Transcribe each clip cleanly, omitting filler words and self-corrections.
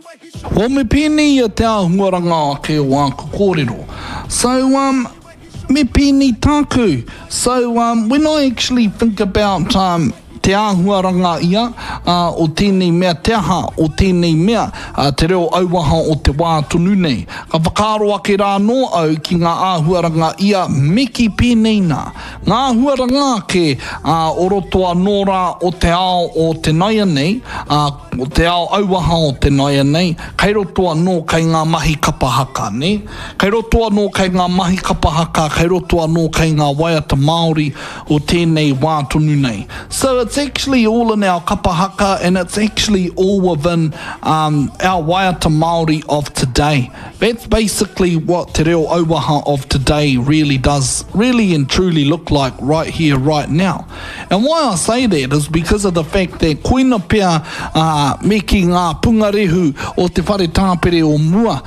Well, me pēnei ia te āhuaranga ake o āku kōrero. So, um, me pēnei tāku. So, um, when I actually think about, um, te āhuaranga ia, uh, o tēnei mea, te aha o tēnei mea, uh, te reo auaha o te wā tonu nei. Ka whakaaro ake rā anō au ki ngā āhuaranga ia me kī pēnei nā. Ngā āhuaranga ake, uh, o roto anō rā o te ao o te naianei, uh, O te ao auaha o te naianei, kei roto anō kei ngā mahi kapa haka, nē? Kei roto anō kei ngā mahi kapa haka, kei roto anō kei ngā waiata Māori o tēnei wā tonu nei. So it's actually all in our kapa haka and it's actually all within um, our waiata Māori of today. That's basically what te reo auaha of today really does, really and truly look like right here, right now. And why I say that is because of the fact that koina pea uh, me ki ngā pungarehu o te whare tāpere o mua.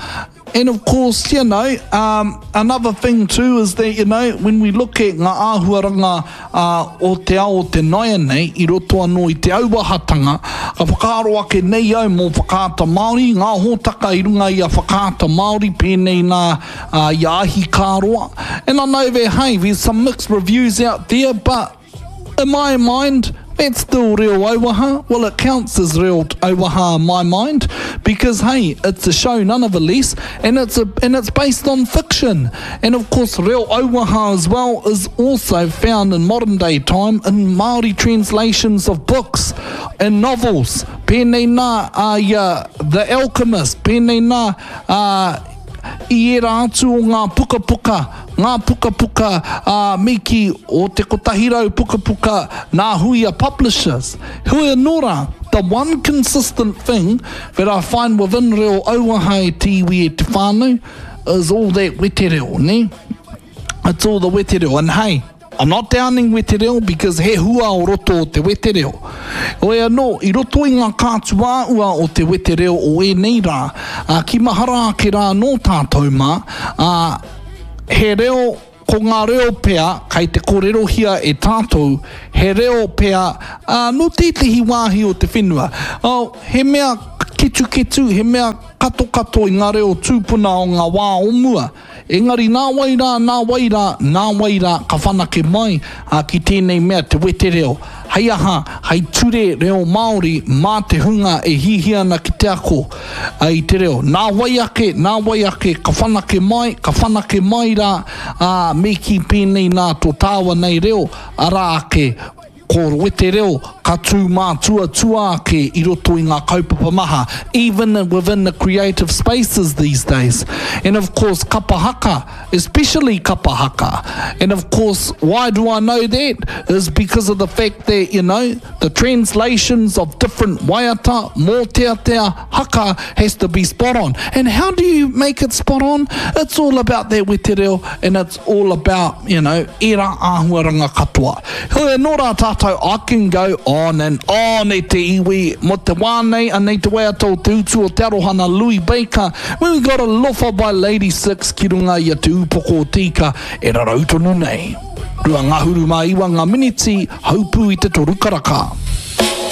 And of course, you know, um, another thing too is that, you know, when we look at ngā āhuaranga uh, o te ao o te naianei, i roto anō i te auahatanga, ka whakaaro ake nei au mō Whakaata Māori, ngā hōtaka i runga i a Whakaata Māori, pēnei nā uh, i a Ahikāroa. And I know that, hey, there's some mixed reviews out there, but in my mind, that's still reo auaha. Well, it counts as reo auaha in my mind because, hey, it's a show nonetheless, and it's, a, and it's based on fiction. And of course, reo auaha as well is also found in modern day time in Māori translations of books and novels. Pēnei nā uh, ia The Alchemist, pēnei nā uh, I ērā atu o ngā pukapuka, ngā pukapuka ā, me kī, o te 100 pukapuka nā Huia Publishers. Heoi anō rā, the one consistent thing that I find within reo auaha e te iwi e te whānau is all that wetereo, nē? It's all the wetereo, and hey, I'm not downing wetereo because he hua o roto o te wetereo. Heoi anō, i roto i ngā kātuāua o te wetereo o ēnei rā, ā, ki mahara ake rā anō tātou mā, ā, he reo, ko ngā reo pea kei te kōrerohia e tātou, he reo pea, ā, nō tētehi wāhi o te whenua. Oh, he mea ketuketu, he mea katokato i ngā reo tūpuna o ngā wā o mua. Engari nā wai rā, nā wai rā, nā wai rā ka whanake mai ā, ki tēnei mea te wetereo. Hei aha, hei ture reo Māori mā te hunga e hihia ana ki te ako ā, i te reo. Nā wai ake, nā wai ake ka whanake mai, ka whanake mai rā, ā, me kī pēnei nā tō tāua nei reo, arā ake, Ko wetereo ka tū mātuatua ake i roto i ngā kaupapa maha, even within the creative spaces these days. And of course kapa haka, especially kapa haka. And of course, why do I know that? Is because of the fact that, you know, the translations of different waiata, mōteatea, haka has to be spot on. And how do you make it spot on? It's all about that wetereo and it's all about, you know, ērā āhuaranga katoa. Heoi anō rā tātou, I can go on and on e te iwi, mō te wā nei, anei te waiata o te utu o te aroha nā Louis Baker, when we got Alofa by Ladi6 ki runga i a Te Ūpoko o Te Ika e rarau tonu nei. 29 ngā miniti, haupū i te toru karaka.